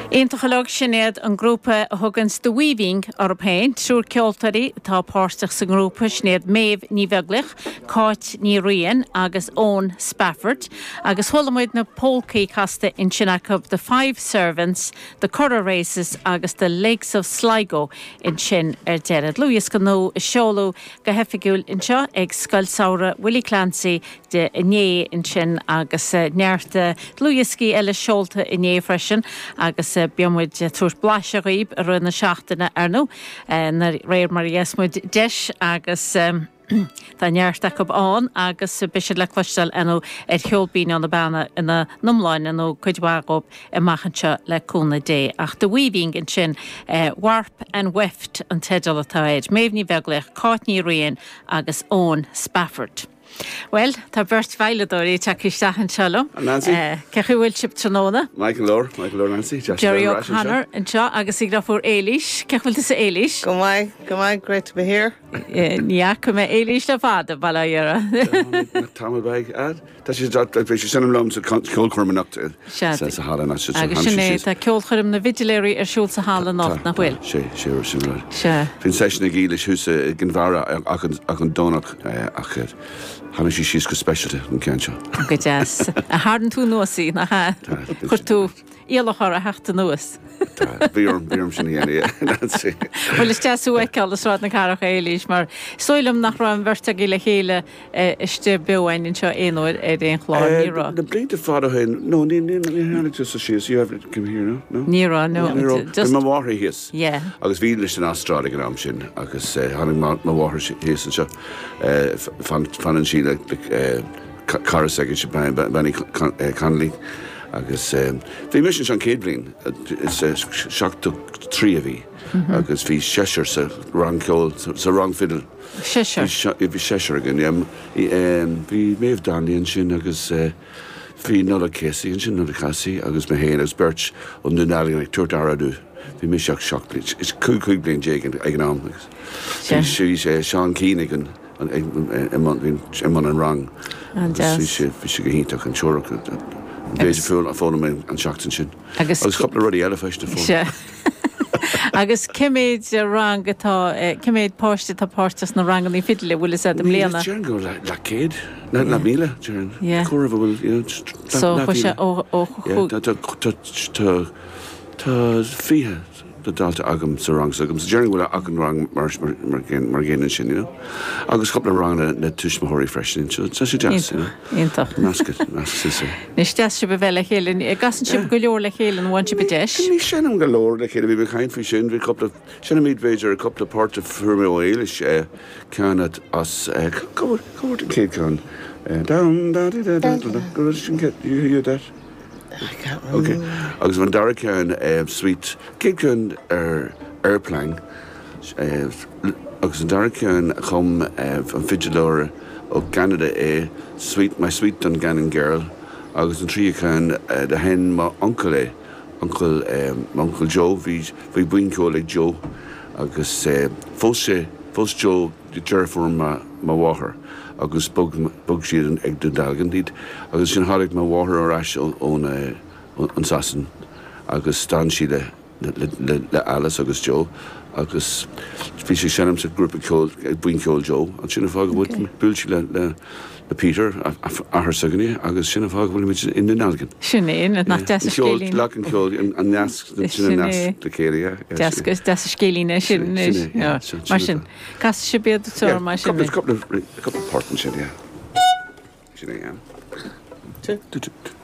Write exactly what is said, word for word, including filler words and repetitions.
Iontach uilig sin iad an grúpa a thugann The Weaving orthu féin, triúr ceoltóirí atá páirteach sa ngrúpa sin iad Méabh Ní Bheaglaoich, Cáit Ní Riain agus Eoin Spafford, agus chuala muid na polcaí casta ansin acu The Five Servants, The Curragh Races agus The Lakes of Sligo ansin ar deireadh. Dlúthdhiosca nua a seoladh go hoifigiúil anseo ag Scoil Samhraidh Willie Clancy de inné ansin agus neart dlúthdhioscaí eile seolta inné freisin agus beidh muid tabhairt blaiseadh daoibh i rith na seachtaine ar ndóigh de réir mar a gheobhas muid deis agus tá neart acu ann agus beidh siad le cloisteáil ar ndóigh ar Cheol Binn ó na Beanna ina n-iomláine nó cuid mhaith díobh amach anseo le cúnamh Dé. Ach The Weaving ansin Warp and Weft an teideal atá air. Méabh Ní Bheaglaoich, Cáit Ní Riain agus Eoin Spafford. Well, tá beirt veidhleadóirí tagtha isteach anseo liom. Nancy? Cén chaoi a bhfuil sibh tráthnóna? Michael Lore, Michael Lore Nancy. Jerry O'Connor anseo agus ag fuair Éilís. Cén chaoi a bhfuil tusa Éilís? Go maith, go maith, great to be here. Ní fhaca mé Éilís le fada bail ó Dhia. Tamall beag Tá sé bhí sé sin liom sa ceolchoirm anocht sa halla Agus sin é tá ceolchoirm na bhfidiléirí ar siúl sa halla anocht nach bhfuil. Sé sé sin rud. Se. Bhí session ag Éilís thuas i gCill Dara ach an Domhnach ach tháinig sí síos go speisialta an ceann seo. Go deas. A tharraing tú anuas í nach ea? Chuir tú iallach uirthi theacht anuas. Bhí orm bhí orm sin a dhéanamh. Bhuel is deas thú a fheiceáil i Sráid na Cathrach Éilís mar is dóigh liom nach raibh an bheirt agaibh le chéile istigh beo anseo aon uair ar aon chlár ní raibh. Na blianta fada féin no ní ní tháinig tú síos you have come here no no Ní raibh no just mo mháthair thíos Yeah. agus bhí leis an Astráil ag an am sin agus tháinig mo mháthair thíos anseo fanann sí le cara s'aici Benny Connolly agus bhí mise an chéad bhliain seachtó trí a bhí agus bhí seisear sa rang ceoil sa rang fiddle. Seisear Bhí seisear againn bhí Méabh Donnelly ansin agus bhí Nola Casey ansin Nola Casey agus mé féin agus beirt ón Dún Dealgan ag tabhairt aire dúinn. Bhí mé seach seach is cúig cúig bliain déag ag an am agus bhí sé Seán Keane ag an i mbun an rang bhí sé bhí sé go hiontach an teorach Bhéidir fuil a fóna mé an seachtain sin. Agus cúpla rudaí eile freisin Se. Agus cé mhéad rang atá cé mhéad páiste atá páirteach sna ranganna fidle bhfuil fhios agat i mbliana. Déarfainn go le céad le le míle Yeah. Chu bhfuil So chu sé ó ó Tá tá fiche de dalta agam sa rang agam sa déarfainn bhfuil ach an rang mar mar mar gcéanna sin you know? agus cúpla rang na, na tuismitheoirí freisin so tá sé deas you know? Iontach. Meascad meascad Is deas sibh a bheith le chéile casann sibh go leor le chéile an bhfuil sibh deis. Ní seinnim go leor le chéile bhí caint faoi sin bhí cúpla seinnimid b'fhéidir cúpla port a fuair mé ó Éilis ceann as go an chéad ceann down da da da da go sin you hear that? I can't Okay. remember. Agus an dara ceann suite céad ceann ar airplane agus an dara ceann chum an fidileoir ó Canada é sweet my sweet Dungannon girl agus an tríú ceann do sheinn mo uncail é uncail uncail Joe bhí bhí buíon ceoil ag Joe agus phós sé phós Joe deirfiúr mo mháthair agus bhog bhog siad ag Dún Dealgan iad agus sin tháinig mo mháthair ar ais ón an Sasain agus d'fhan sí le le, le, le Alice agus Joe agus bhí sé seinm sa grúpa ceoil ag buíon ceoil Joe an sin an fáth go bhuail sí le le le Peter athair s'againne agus sin an fáth go bhfuilimid i nDún Dealgan. Sin é nach deas an scéilín. Le an ceol an nasc sin an nasc le chéile. Deas deas an scéilín é sin mar sin. Cas si beiad tú mar sin. Cúpla port sin yeah. Sin é. Two. Two, two, two.